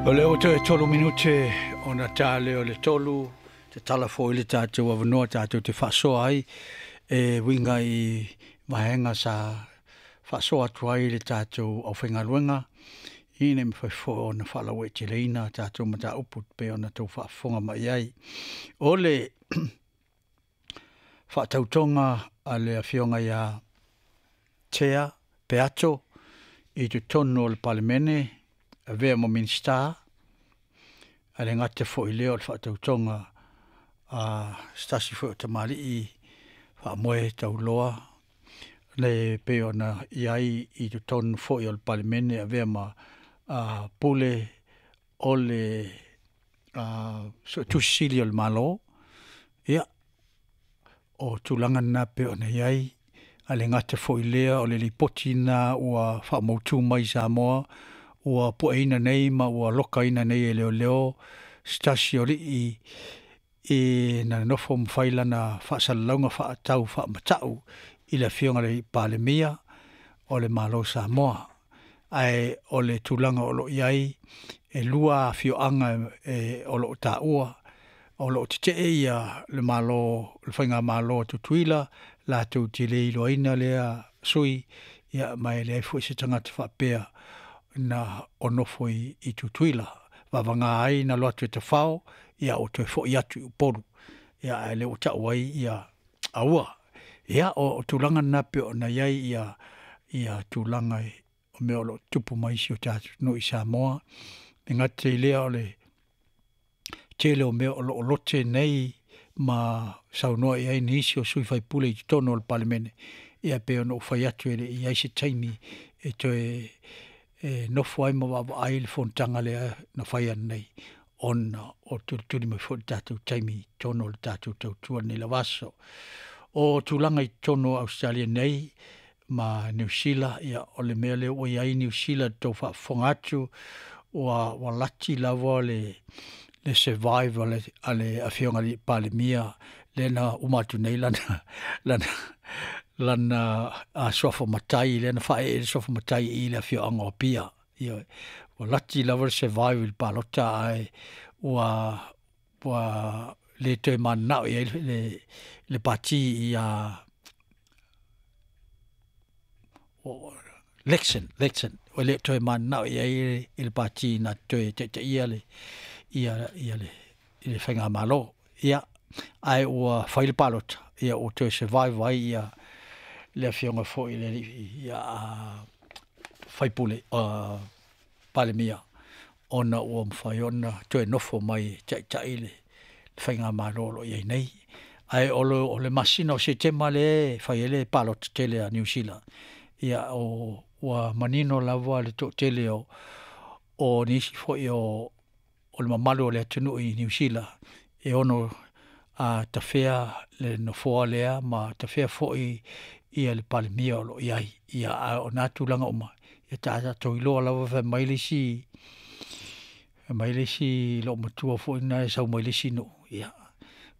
O lea ua toe 3 minute ona ta lea o le 3, tatala foi le tatou avanoa tatou te faasoa ai e uiga i vaega sa faasoa atu ai le tatou aufaigaluega, ina ia mafai foi ona faalauaiteleina tatou mataupu pei ona outou faafofoga mai ai. O le faatautoga a le Afioga ia Tea Peato i totonu o le Palemene, avea ma Minisita, ae le gata foi i lea o le faatautoga a se tasi foi o tamalii faamoe tauloa le pei ona i ai i totonu foi o le Palemene, avea ma Pule o le Suetusi Sili o le Malo. Ia, o tulaga na pei ona i ai, ae le gata foi i lea o le lipoti lena ua faamautu mai i Samoa, ua pueina nei ma ua lokaina nei e leoleo se tasi o alii i na nonofo ma fai lana faasalalauga faatau faamatau i le Afioga i le Palemia o le Malo o Samoa. Ae o le tulaga o lo o i ai, e 2 afioaga o lo o taua, o lo o tetee ia le Malo, le Faigamalo a Tutuila, latou te le iloaina lea sui, ia ma e leai foi se tagata faapea na o nofo i Tutuila. Vavaga ai na alu atu e tafao, ia ua toe foi atu i Upolu, ia ae lea ua tau ai ia aua. Ia, o tulaga na pei ona i ai ia tulaga o mea o lo o tutupu mai i si o tatou atunuu i Samoa. E gata i lea o le tele o mea o lo o lote nei ma saunoa i ai nisi o sui usufono i totonu o le Palemene, ia pei ona ou fai atu e le i i ai se taimi e toe nofo ai ma vaavaai le fonotaga lea na fai ananei, ona o tulituli mai foi le tatou taimi i totonu o le tatou tautua i lenei lava aso. O tulaga i totonu o Ausetalia nei ma Niu Sila, ia o le mea lea ua i ai Niu Sila i le tou faafofoga atu, ua lati lava le survive a le Afioga i le Palemia lea na uma atu nei lana suafa matai, lea na faaee le suafa matai i le afioaga o Apia. Ioe, ua lati lava le survive i le palota, ae ua le toe mananao i ai le pati ia Lexon, ua le toe mananao i ai le pati na toe taitaia le faigamalo. Ia, ae ua fai le palota, ia ua toe survive ai ia le afioga foi i le alii sui usufono Palemia, ona ua mafai ona toe nofo mai e taitai le faigamalo o lo o i ai nei. Ae o le masina o Setema lea e fai ai le palota tele a Niu Sila, ia ua manino lava le toatele o nisi foi o le mamalu o le atunuu i Niu Sila e ono tafea le nofoa lea ma tafea foi ia le Palemia o lo o i ai. Ia, a o na tulaga uma, ia tatou iloa lava fai mai le isi loomatua foi lena e sau mai le isi nuu, ia,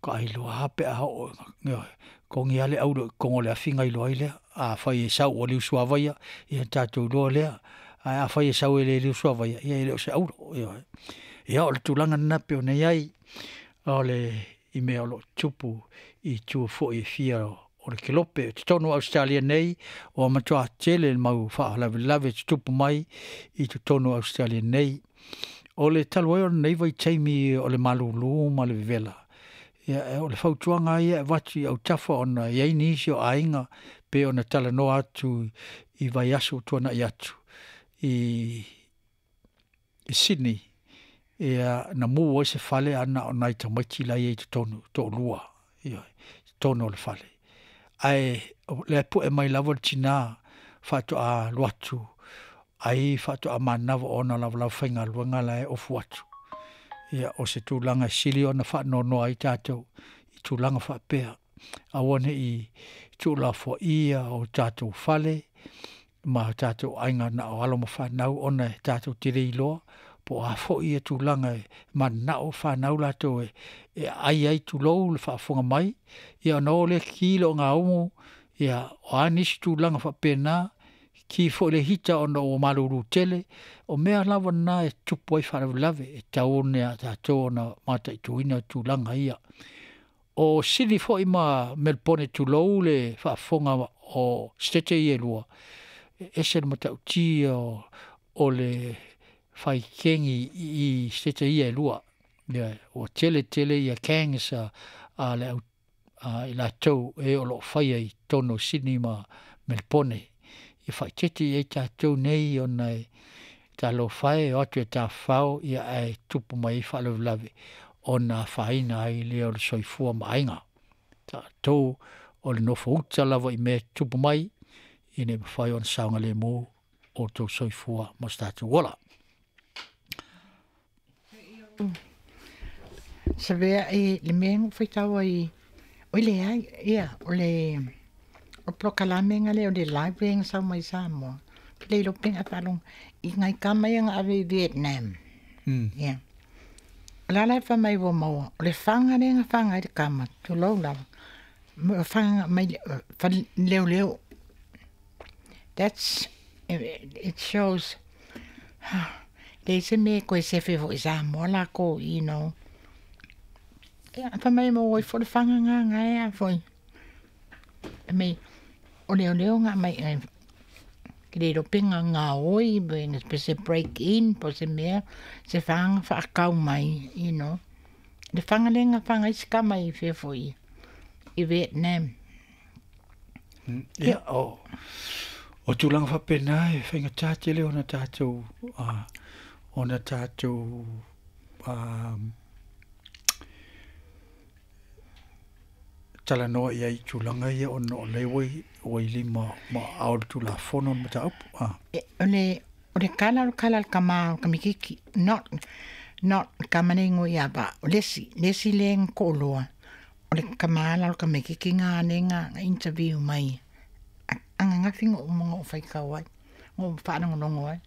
faatoa iloa lava pe a oo, ioe, togi lava le auro i totonu o le afi ona iloa ai lea. Afai e sau ua liusuavai, ia ona tatou iloa lea, ae afai e sau e le liusuavaia, ia e le o se auro. Ioe. Ia o le tulaga lena pei ona i ai o le i mea o lo o tutupu i itu foi e fia o le kelope. O totonu o Ausetalia nei, ua matua tele le mau faalavelave tutupu mai i totonu o Ausetalia nei. O le talu ai o lenei vaitaimi o le malūlū ma le vevela, ia, o le fautuaga ia e avatu i autafa ona e i ai nisi o aiga pei ona talanoa atu i vaiaso ua tuanai atu i Sydney, ia na mu ai se fale ae na o nai tamaiti la e i ai i totonu, toalua, ioe, i totonu o le fale. Ae o lea e pue mai lava le tina faatoa alu atu ai faatoa manava o ona lavalava faigaluega la e ofu atu. Ia, o se tulaga e sili ona faanoanoa ai tatou i tulaga faapea. Aua ne i tuulafoaia o tatou fale ma tatou aiga na o alo ma fanau, ona e tatou te le iloa po o a foi ia tulaga e mananao fanau latou e aai ai, tulou le faafofoga mai, ia ona o lea ki le ogaumu, ia o a nisi tulaga faapena. Ki fo'i le hita ona ua malūlū tele, o mea lava na e tupu ai faalavelave e tatau ona iā tatou ona mataituina tulaga ia. O Sini fo'i ma Melpone tulou le faafofoga o Setete ia e lua, e ese le matautia o le fai kegi i Setete ia e lua. Ioe, ua tele tele ia gangs a le au i latou e o loo faia i totonu o Sini ma Melpone. Ia faaeteete i ai tatou nei ona e talofa e o atu e tafafao ia ae tupu mai ai faalavelave ona afaina ai lea o le soifua ma aiga. Tatou o le nofouta lava i mea e tutupu mai ina ia mafai ona saogalemu outou soifua ma so tatou ola. Savea i le mea na ou faitau ai, oi leai, ia, o le o polokalame na lea o le library na sau mai Samoa, ou te le iloa pe na e faalogo, i nai tama ia na ave i Vietnam. Ia. O le a la le fai mai ua maua, o le faga lea na faga ai le tama, tulou lava, faga mai le leoleo. That's, it shows, leai se mea e toe sefe foi i Samoa latou, you know. Ia, fai mai e maua ifo le faga na na e a foi. Fai mai, o leoleo na aumai i ke le iloa pe na gaoi pe se break in po o se mea, se faga faatau mai, you know. Le faga lea na faga ai si tama i fea foi, i Vietnam. Ia, o tulaga faapena e faigata tele ona tatou ona tatou talanoa i ai i tulaga ia ona o lea ua i lima ma aao o le Tulafono le mataupu. O le o le tala o le tala a le tama o le tamaititi not not le tama le igoa ia Vaa o le isi le isi lea na toalua o le tama la o le tamaititi na lea na interview mai ananafi na uma ona ou faitau ai na ou faalogologo ai.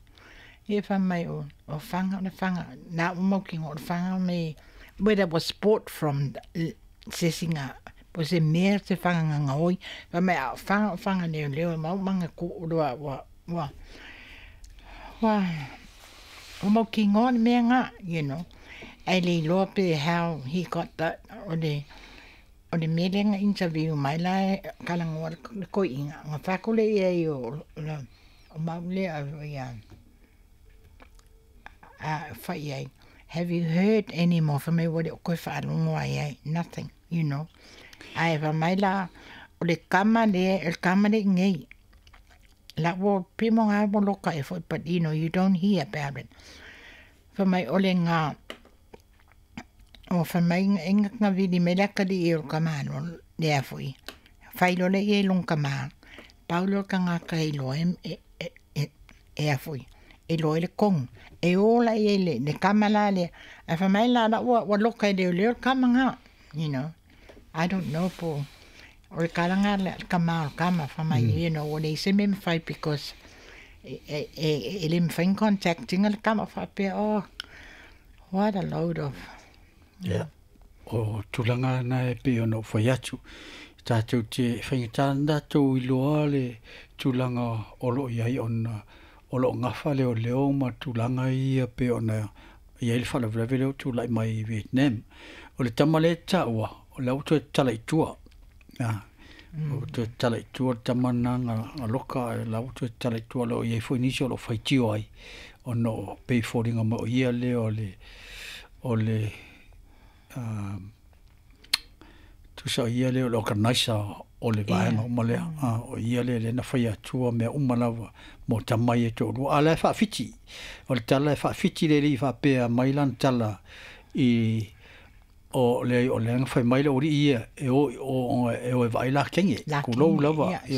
Ia fai mai o faga o le faga la ua mautinoa o le faga me whether it was bought from se isi na po o se mea se faga na gaoi fai mai a o faga o faga leoleo e mau manatua ua ua ua ua mautinoa le mea na you know ae le iloa pe how he got that o le o le mea lea na interview mai la e talanoa le toeaina ona fai atu lea i ai o o mau lea ia a fai i ai have you heard any more fai mai ua le o toe faalogo lava i ai nothing you know ae fai mai la o le tama lea o le tama lea i inei la ua pei mo nga ua loka ea foi but you know you don't hear about it fai mai o le ga o fai mai e na vili mai le atalii o le tamaloa lea foi fai loa lea i ai i lona tama pau lea o le tagata e iloa e a foi e iloa ai le tonu e o la i ai le tama la lea ae fai mai la la ua loka e leoleo le tama na you know I don't know po o le tala na le tama o le tama fai mai you know ua leai se mea e mafai because e le mafai ona contact ina le tama faapea oh what a load of. Ia, o tulaga na e pei ona ou fai atu, tatou te faigata ona tatou iloa le tulaga o lo o i ai ona o lo o gafa leoleo ma tulaga ia pei ona i ai le faalavelave lea ua tulai mai i Vietnam. O le tama lea e taua, o la ua toe tatala i tua. Ua toe tatala i tua le tama lena na loka ae o la ua toe tatala i tua. O lo o i ai foi nisi o lo o faitio ai ona o pei e foliga mai o ia lea o le o le tusa o ia lea o le organiser o le vaega uma lea. O ia lea lea na faia atua mea uma lava mo tama ia e toalua. A o la e faafiti. O le tala e faafiti le alii faapea mai lana tala i o le o lea na fai mai le aualii ia e o i o e o e vaai la kenge. Tulou lava. E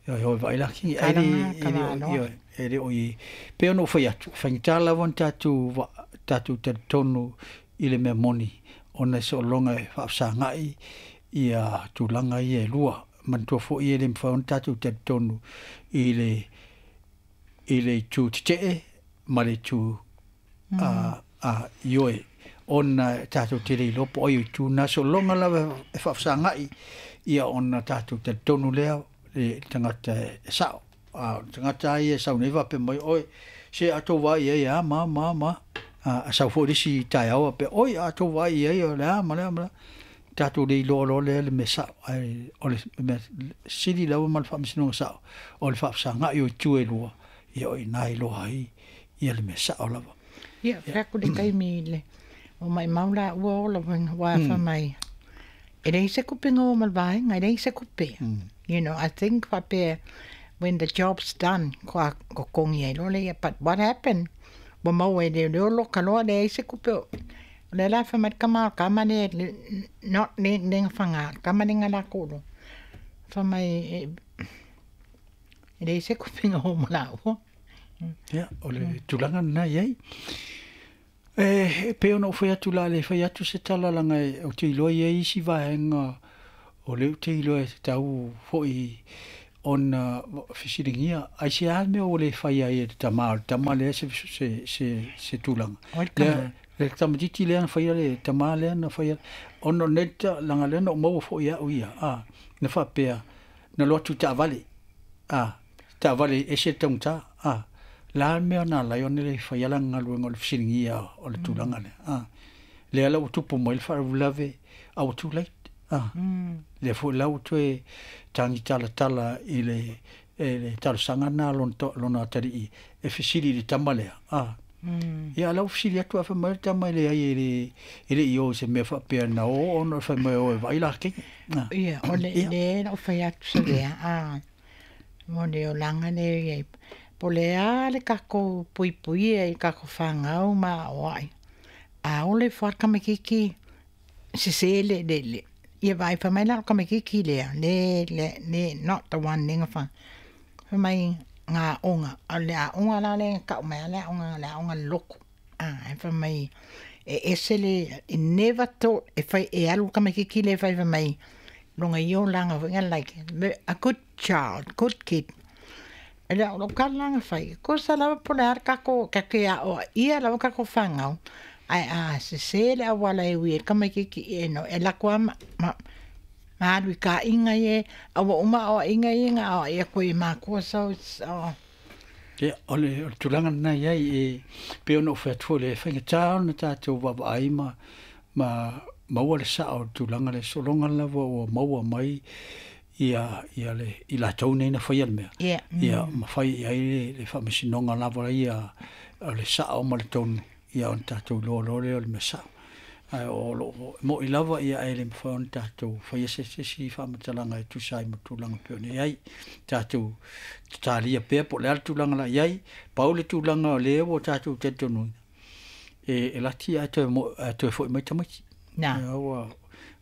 o e vaai la kenge. Ae le ioe, e le o i pei ona ou fai atu, e faigata lava ona tatou tatou talitonu i le mea moni ona e soologa e faafesagai ia tulaga ia e lua. Manatua foi e le mafai ona tatou talitonu i le i le itu tetee ma le itu a ioe ona e tatou te le iloa po o ai o itu na. Soologa lava e faafesagai ia ona tatou talitonu lea le tagata e sao. A o le tagata lava ia e sau nei faapea mai, Oi, se a outou vaai i ai e a ma a ma a ma a. A sau foi le isi taeao faapea, Oi, a outou vaai i ai o le a ma le a ma le a. Tatou le iloa loa lea le mea sao, ae o le mea sili lava ma le faamasinoga sao, o le faafesagai o itu e lua, ia o i ina e iloa ai ia le mea sao lava. Ia, fai atu le taimi i le o maimau la ua ola ua fai mai, e leai se kupe nga ma le vaega, e leai se kupe. You know, I think faapea when the job's done, kua totogi ai loa lea. But what happened? Ua maua e leoleo loka loa leai se kupe. O lea la fai mai le tama o le tama lea, not le le na faga, le tama lea na latou iloa. Fai mai e leai se kupe na o ma laua. Ia, o le tulaga lena e i ai. E pei ona ou fai atu la le fai atu se tala leaga ou te iloa e i ai isi vaega o lea ou te iloa e tatau foi ona fesiligia aisea le mea ua le faia ai e le tama o le tama lea se se se tulaga. Lea le tamaitiiti lea na faia le tama lea na faia ona o lenei leaga lea na ou maua foi e au ia a na faapea na alu atu i taavale a taavale e ese le taugata a le a le mea na ala ai ona le faia lana galuega o le fesiligia o le tulaga lea a lea la ua tupu mai le faalavelave a ua too late a lea foi la ua toe tagi talatala i le le talosaga lena a lona atalii e fesili i le tama lea a ia a la ua fesili atu ae fai mai le tama e leai e le e le i o i se mea faapea na o ona fai mai o e vaai la keke. Ia, o le le na ou fai atu sa lea a mo le olaga lea e i ai. Po o le a le tatou puipuia i tatou fanau ma aoai, a ola ifo lava le tamaititi sese le le le ia vaai fai mai la o le tamaititi lea le le le not the one lea na fai fai mai na aoga a o le aoga la lea na tau mai lava le aoga le aoga a le lotu a fai mai e ese le e never thought e fai e alu le tamaititi lea e fai fai mai lona ia olaga foi lea like a good child good kid. E le o lou tala la na fai, tusa lava po o le a le tatou, tatou te aoaia lava tatou fanau, ae a sese le auala e ui ai le tamaititi e no e alu atu lava ma, ma, ma alu i taaiga ia, a ua uma aoaiga ia na aoai atu ai e matua so it's oh. Ia, o le, o le tulaga lena e i ai, e pei ona ou fai atu foi, le faigata ona tatou vaavaai ma, ma maua le sao o le tulaga lea, sologa lava ua maua mai ia, ia le, i latou nei na faia le mea. Ia. Ia, ma fai i ai le, le faamasinoga lava ia o le sao ma le tonu, ia ona tatou iloa loa lea o le mea sao. Ae o lo o mo'i lava ia ae le mafai ona tatou faia se isi faamatalaga e tusa ai ma tulaga e pei ona i ai. Tatou tatalia pea po o le a le tulaga la i ai, pau le tulaga o lea ua tatou talitonuina, e lati ae toe, ae toe foi mai tamaiti. Na. Ia ua,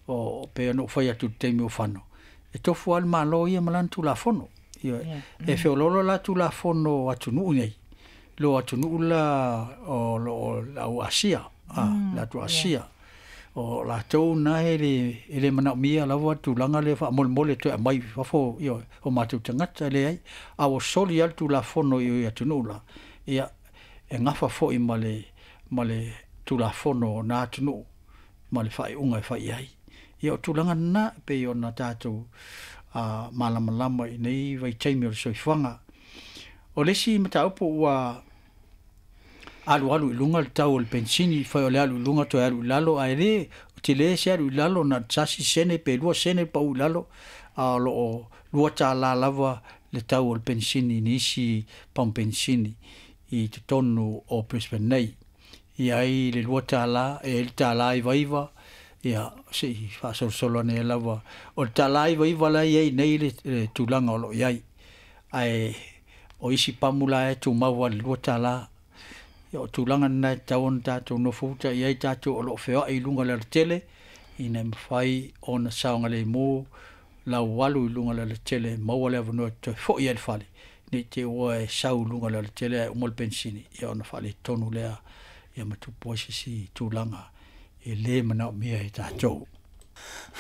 o, pei ona ou fai atu i le taimi o fano, e tofu lava le Malo ia ma lana Tulafono. Ia, yeah. E feoloolo la Tulafono o atunuu nei, lo atunuu la o lo o le au Asia, a, le atu Asia. Yeah. O latou na e le, e le manaomia lava tulaga lea faamolemole toe aumai i fafo ia o matou tagata, e leai. A ua soli lava le Tulafono i atunuu la, ia, e gafa foi ma le, ma le Tulafono o na atunuu ma le faaiuga e fai i ai. Ia o tulaga lena e pei ona tatou malamalama i nei vaitaimi o le soifuaga. O le isi mataupu ua alualu i luga le tau o le penisini, fai o le alu i luga toe alu i lalo, ae le tele se alu i lalo, na o le tasi sene pe 2 sene le pau i lalo, a o lo o $2 lava le tau o le penisini i nisi pamu penisini i totonu o Brisbane nei. I ai le $2, e i ai le $1.99, ia se i faasolosolo ane ai lava. O le $1.99 la e i ai nei le, le tulaga o lo o i ai. Ae o isi pamu la e tumau lava i le $2. Ia o tulaga lena e tatau ona tatou nofouta i ai tatou o lo o feoai i luga o le alatele, ina ia mafai ona saogalemu lau alu i luga o le alatele, maua le avanoa e toe foi ai i le fale, ne i te i ua e sau i luga o le alatele ae uma le penisini, ia ona faaletonu lea, ia ma tupu ai se isi tulaga e le manaomia e tatou.